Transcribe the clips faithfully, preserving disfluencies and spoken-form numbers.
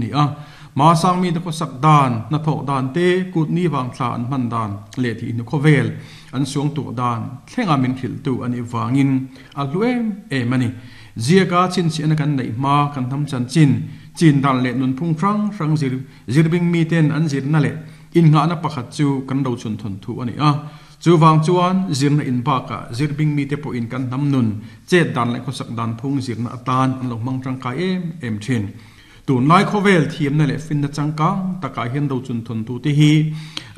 Ni a ma sang mi te ko sak dan na thok dan te kut ni wang thla an man dan le thi nu khovel an suang tu dan thlenga min thil tu ani wangin a hluem e mani zia ka chin chi an kan nei ma kan tham chan chin chin dan le nun phung rang rang zir zirbing mi ten an zir na le in nga na pakhat chu kan ro chun thon thu ani a chu wang chuan zirna in ba ka zirbing mi te po in kan nam nun chet dan le kho sak dan phung zirna atan an lo mang tang kai em em thin tu nai khovel thiam na le fin na changkang taka hian ro chun thon tu te hi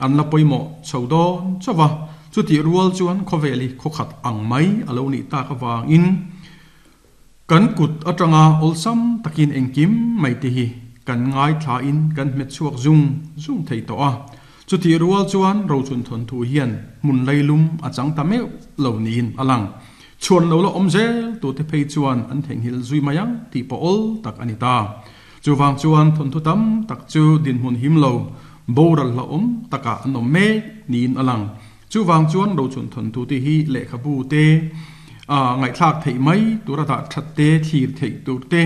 an la poimo chodon chawa chu ti rual chuan khoweli khokhat ang mai alo ni ta ka wang in kan kut atanga olsam takin engkim mai te hi kan ngai thla in kan met chuak zung zung thei to a chu ti rual chuan ro chun thon thu hian mun leilum achang ta meu lo niin alang chuan lo lo omzel tu te phei chuan an theng hil zui mayang ti po ol tak ani ta chu wang chuan thon thu tam tak chu din hun him lo boral la om taka an om me niin alang chu wang chuan ro chun thon thu ti hi le khabu te a ngai thlak thei mai tura da that te thir thei tur te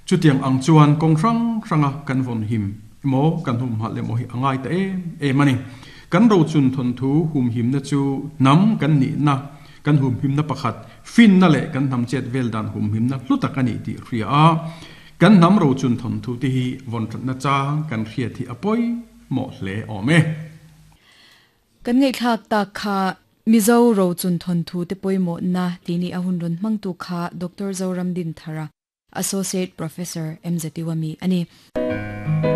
chu tiang ang chuan kong rang ranga kan von him mo kan hum ha le mo hi angai ta em em ani kan ro chun thon thu hum him na chu nam kan ni na kan hum him na pakhat fin na le kan nam chet vel dan hum him na hlutak ani ti ria a kan nam ro chun thon thu ti hi von that na cha kan ria thi apoi mo hle ome kan ngai thlak ta kha Mizo ro chun thon thu te poimo na tini ahun ron mangtu kha Doctor Zoram Din Thara Associate Professor M Z Wami ani.